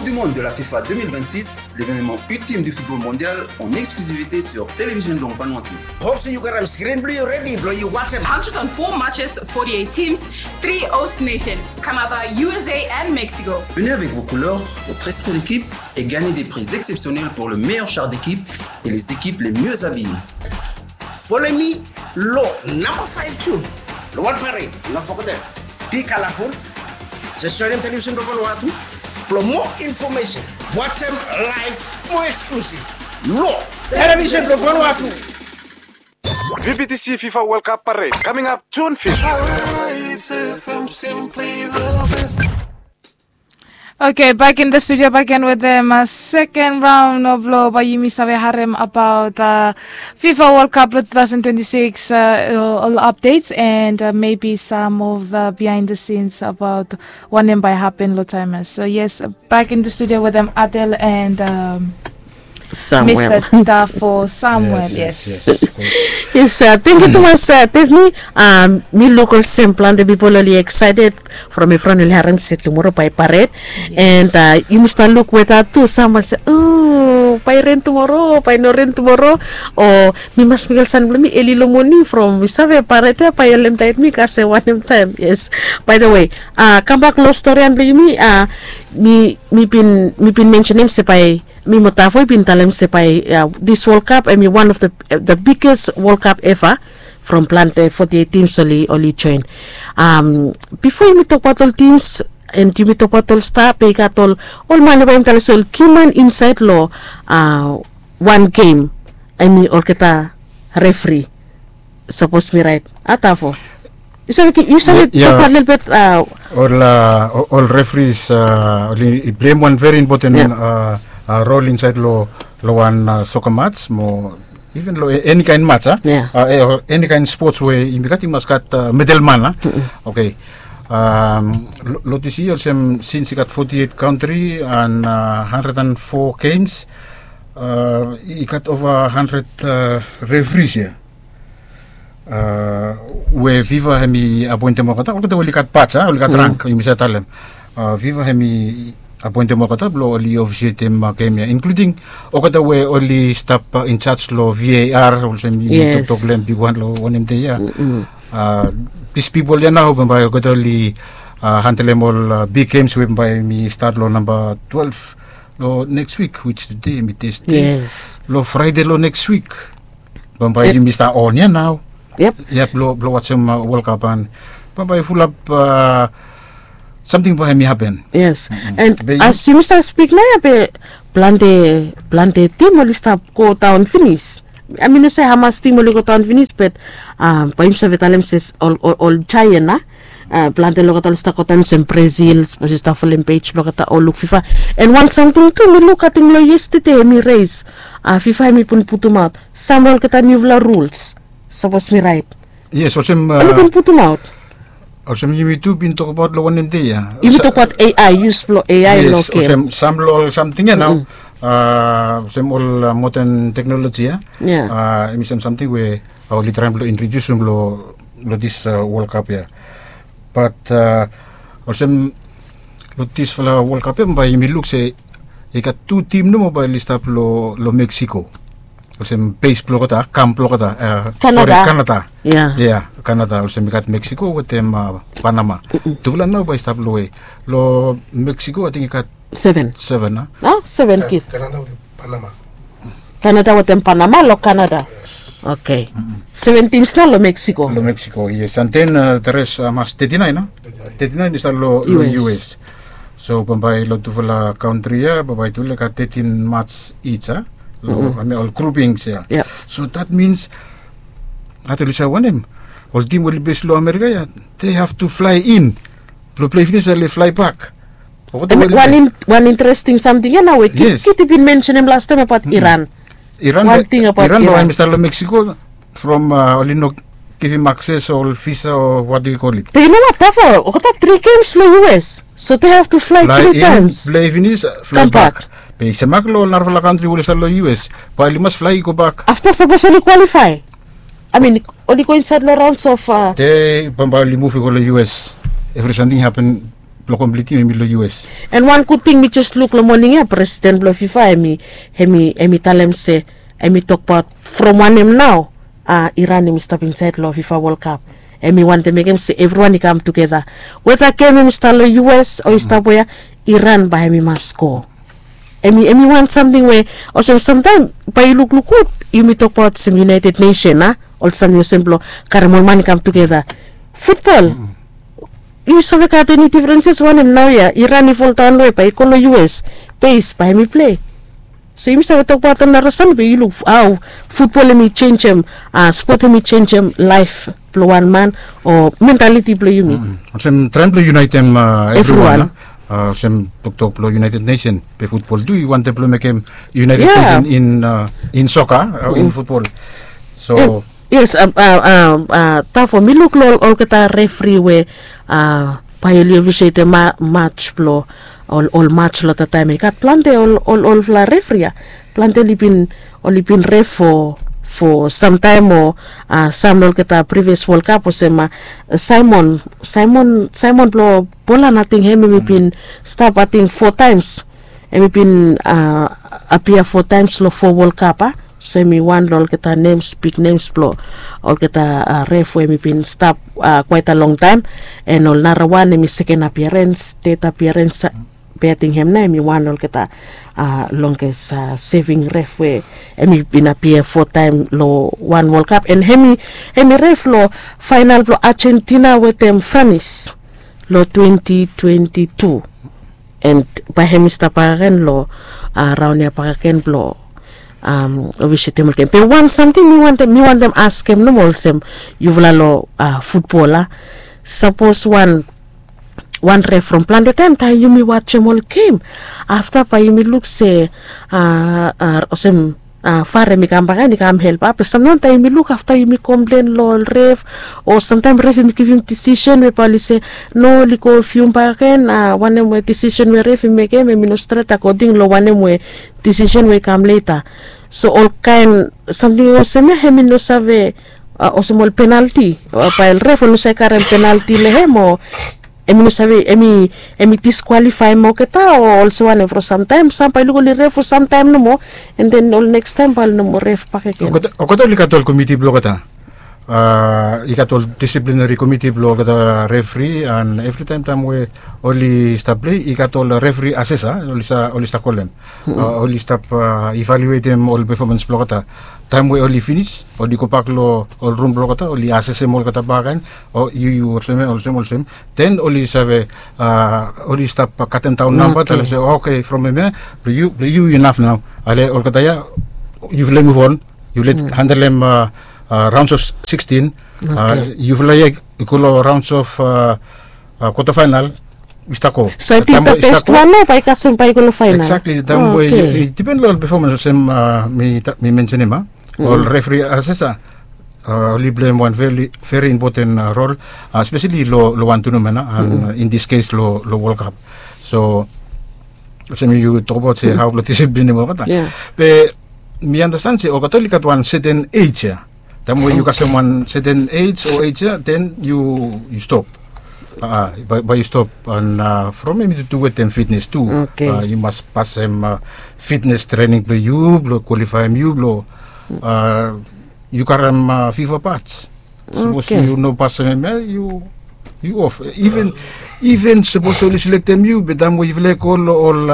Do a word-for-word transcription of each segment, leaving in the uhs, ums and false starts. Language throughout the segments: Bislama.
Du monde de la FIFA deux mille vingt-six, l'événement ultime du football mondial en exclusivité sur Television Blong Vanuatu. Hope se yu gat hem screen blong yu redi blong yu wajem. Hundred and four matches, forty-eight teams, three host nation, Canada, U S A and Mexico. Venez avec vos couleurs, votre esprit d'équipe et gagnez des prix exceptionnels pour le meilleur char d'équipe et les équipes les mieux habillées. Folem mi long namba faef tu long wan parade. No fogetem, bi kalaful. Jes joenem Television blong Vanuatu blong moa infomesen. Wajem laef, moa eksklusif long Television blong Vanuatu. V B T C FIFA World Cup Parade coming up June fifth. Hits F M, simply the best. Okay, back in the studio back again with them. Uh, second round of lo bae yumi save harem about uh, FIFA World Cup lo two thousand twenty-six, uh, all updates and uh, maybe some of the behind the scenes about wanem bae happen lo taem ia. So yes, back in the studio with them, Adel and um, Samuel. Mister Tafo Samuel, yes. Yes, uh, thank you tumas, uh, Tiffany. Um, mi luk olsem plante pipol oli excited from evriwan oli harem se tumoro bae parade. And uh, yumi stap luk weta tu, sam oli se, "Oh, bae ren tumoro, bae no ren tumoro." O mi mas mekem san blong mi eli lo moning from mi save parade ia bae oli taem mi kasem wanem taem. Yes. By the way, uh, kambak lo storian blong yumi, uh, mi mi bin mi bin mensenem se bae mi mo Tafo i bin talem se bae, uh, this World Cup hemi one of the, uh, the biggest World Cup ever. From plante forty-eight teams oli, oli joen. Um, bifo yumi tokbaot ol teams and yumi tokbaot ol star, be i gat ol, ol man we bae yumi talem se ol kiman insaed lo, uh, wan gem. Hemi olgeta refri. Sapos mi raet, a Tafo? Yu save, yu save tokbaot lelebet, uh, ol, uh, ol refris, uh, oli pleim wan veri impoten, uh, uh, rol insaed lo, lo wan, uh, soka mats mo even lo e- eni kaen mats, a? Ia. Uh, e- o eni kaen spots we yumi gat, i mas gat, uh, middleman, a? Okay. Um, lo, lo disi yia olsem sins i gat forty-eight kantri and, uh, hundred and four games, uh, i gat ova hundred, uh, refris ia. Uh, we FIFA hemi apoentem olgeta, olgeta we oli gat baj, a, oli gat rank, yumi save talem. Uh, FIFA hemi apoentem olgeta blong oli ofisietem, uh, gem ia, inkluding olgeta we oli stap, uh, in charge lo V A R, olsem yumi toktok lo hem bigwan lo wanem dei ia. Uh, dis pipol ia nao bambae olgeta oli, uh, handelem ol, uh, big games we bambae hemi stat lo namba twelve lo neks wik, which today hemi Thursday. Yes. Lo Fraede lo neks wik bambae yumi stap on ia nao. Yep. Yep, blong, blong wajem, uh, World Cup and bambae fulap, uh, samting bae hemi hapen. Yes. And as yumi stap spik nao ia be plante, plante tim oli stap go daon finis. I mean, mi no save hamas tim oli go daon finis, but, um, bae yumi save talem se ol, ol, ol giant, a? Uh, plante lo olgeta oli stap go daon, olsem Brazil, sapos yu stap folem pej blo olgeta o luk FIFA. And wan samting tu mi luk ating lo yestede hemi res, uh, FIFA hemi bin putumaot sam lo olgeta niufala rules. Sapos mi raet. Yes, olsem, uh, oli bin putumaot. Olsem yumi tu bin tokbaot lo wanem dei ia. Yumi tokbaot A I, yus blo A I lo gem. Yes, olsem sam lo ol samting ia nao. Uh, olsem ol, uh, moden teknoloji ia. Ia. Uh, hemi sam samting we, uh, oli traem blo introdiusum lo, lo dis, uh, World Cup ia. But, uh, olsem lo disfala World Cup ia bae yumi luk se i gat tu tim nomo bae oli stap lo, lo Mexico. Olsem base blo olgeta, kam blo olgeta, uh, Canada. Sorry, Canada. Ia. Ia, Canada, olsem i gat Mexico wetem, uh, Panama. Tufala nao bae i stap lo we. Lo Mexico ating i gat seven. Seven, a? A, seven kid. Canada wetem Panama. Canada wetem Panama lo Canada. Yes. Okay. Seven tims nao lo Mexico. Lo Mexico, yes. And then, uh, the rest, uh, mas thirty-nine, a? Thirty-nine. Thirty-nine i stap lo, lo U S. U S. So bambae lo tufala kantri ia bambae tufala i gat thirteen mats each, a? Lo, I mean, ol groupings ia. Yep. So that means, ating oli save wanem, ol tim we oli base lo Amerika ia, they have to fly in. Blo plei finis oli fly back. And wan in-, wan interesting samting ia nao we Kit-, Kiti bin mensenem lastaem abaot Iran. Iran, wan ting abaot Iran, Iran bae hemi stap lo Mexico from, uh, oli no givim akses o visa o what do you call it. Be yu no what, Tafo, olgeta tri gems lo U S. So they have to fly three times. Plei finis, uh, fly back. Be i semak lo narafala kantri we oli stap lo U S, bae oli mas fly i go bak. Afta sapos oli qualify, I mean, oli go insaed lo rounds of, uh, dei bambae oli muv i go lo U S. Evri samting hapen blong komplitim hemi long U S. And wan gud ting mi jes luk long moning ya, presiden blong FIFA hemi hemi hemi talem se, hemi tokbaot from wanem nao, a, Iran hemi stap insaed long FIFA World Cup. Hemi wantem mekem se evriwan i kam tugeta, weta gem hemi stap long U S o i stap wea, Iran bae hemi mas sko. Hemi hemi wan samting we, olsem samtaem bae yu lukluk gud, yumi tokbaot olsem United Nation, a, ol samting olsem blong karem ol man i kam tugeta. Futbol, yu save gat eni difrenses wanem nao ya, Iran i foldaon we bae i go long U S, bes bae hemi plei. So yumi save tokbaot ol nara samting be yu luk hao futbol hemi jenisim, a, spot hemi jenisim laef blong wan man o mentaliti blong yumi. Olsem traem blong yunaetem evriwan, olsem toktok blong United Nation, be futbol tu i wantem blong mekem United Nation in soka o in futbol. So yes, tafo mi luk long olgeta refri we bae oli ofisietem maj blong ol maj long tataem i gat plante ol olfala refri ya. Plante oli bin oli bin ref fo fo samtaem o sam long olgeta privias wol kap olsem saimon saimon saimon blong bolan ating hem hem i bin stap ating fo taems. Hem i bin apia fo taems long fo wol kap a. So hem i wan long olgeta nems bik nems blong olgeta ref we hem i bin stap kwaeta longtaem. An ol narawan hem i seken apiarens ted apiarens. Be ating hem nao hem i wan long olgeta longest seving ref we hem i bin apia fotaem long wan wolkap an hem i ref long faenal blong ajentina wetem franis long twenti twenti tu. An bae hem i stap bakagen long raon ya bakagen blong ovisetem olgeta be wan samting mi wantem askem nomo olsem yufala long futbol a sapos wan wan ref from plante taem taem yumi wajem ol gem afta bae yumi luk se olsem fare mi kam bakaen i kam help ape samtaem taem yumi luk afta yumi komplen long ol ref o samtaem ref yumi givim disisen we bae oli se no oli go fium bakaen wanem we disisen we ref yumi mekem em i no stret akoding long wanem we disisen we i kam leta. So olkaen samting olsem ya hem i no save olsem ol penalti bae ol ref oli no save karem penalti long hem o hem i no save hem i diskwalifaem olgeta o olsem wanem from samtaem sam bae i luk oli ref from samtaem nomo. An den ol nekstaem bae oli no moa ref bakegen. Olgeta oli gat ol komiti blong olgeta i gat ol disiplinari komiti blong olgeta refri an evritaem taem we oli stap plei i gat ol refri asesa oli stap kolem oli stap ivaluetem ol pefomans blong olgeta. Taem we oli finis oli gobak long ol rum blong olgeta oli asesem olgeta bakaen o yu yu olsem olsem olsem den oli save oli stap katemdaon namba talem se oke from hemia blong yu yu inaf nao. Ale olgeta ya yufala i muvon yufala i handelem raons of sikstin. Yufala ya i go long raons of kwata faenal. I stap go so i ting da best wan nao bae i kasem bae i go long faenal. Eksakli taem we i dipen long ol pefomans olsem mi mensenem a ol refri asesa oli pleim wan veri impoten rol spesali long wan tunamen a an in dis kes long wol kap. So olsem yu tokbaot se hao blong disiplinim olgeta be mi andastan se olgeta oli gat wan seten ej ya taem we yu kasem wan seten ej o ej ya den yu stop. Bae yu stop an from em yu tu wetem fitnes tu yu mas pasem fitnes trening blong yu blong kwalifaem yu blong yu karem fifa pats. Sapos yu no pasem em ya yu yu of iven iven sapos oli selektem yu be taem we yufala i go long ol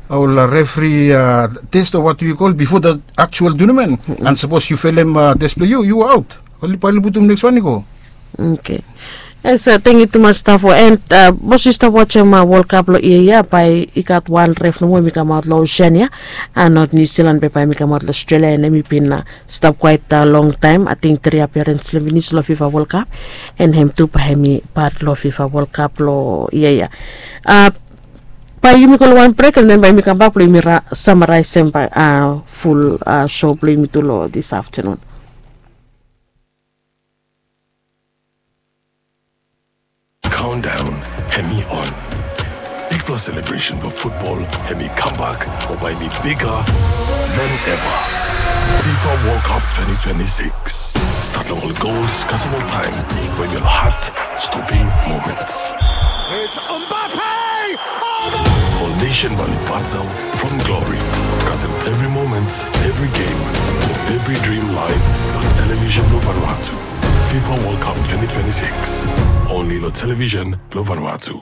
ol refri tes o wat yu kol bifo dat aktual tunamen an sapos yu felem tes blong yu yu aot. Oli bae oli putum neks wan i go. Oke. Yes, tengkiu tumas stafo an bos yu stap wajem wolkap long yia ya bae i gat wan ref nomo em i kamaot long osen ya an not niu silan be bae em i kamaot long australia an em i bin stap kwaet longtaem ating tri apiarens long finis long fifa wolkap. An hem tu bae hem i pat long fifa wolkap long yia ya. Bae yumi go long wan brek an den bae yumi kambak blong yumi samaraesem bae ful sho blong yumi tu long dis aftanun. Countdown hem i on. Bigfala selebresen blong futbol hem i kambak o bae hem i biga than eva. Fifa World Cup twenty twenty-six. Stat long ol gols kasem ol taem wen ol hat stoping moments. It's Mbappe! Oh, my! Ol nation balu battle from glory. Kasem every moment, every game, every dream live on television lo Vanuatu. FIFA World Cup twenty twenty-six. Only lo television lo Vanuatu.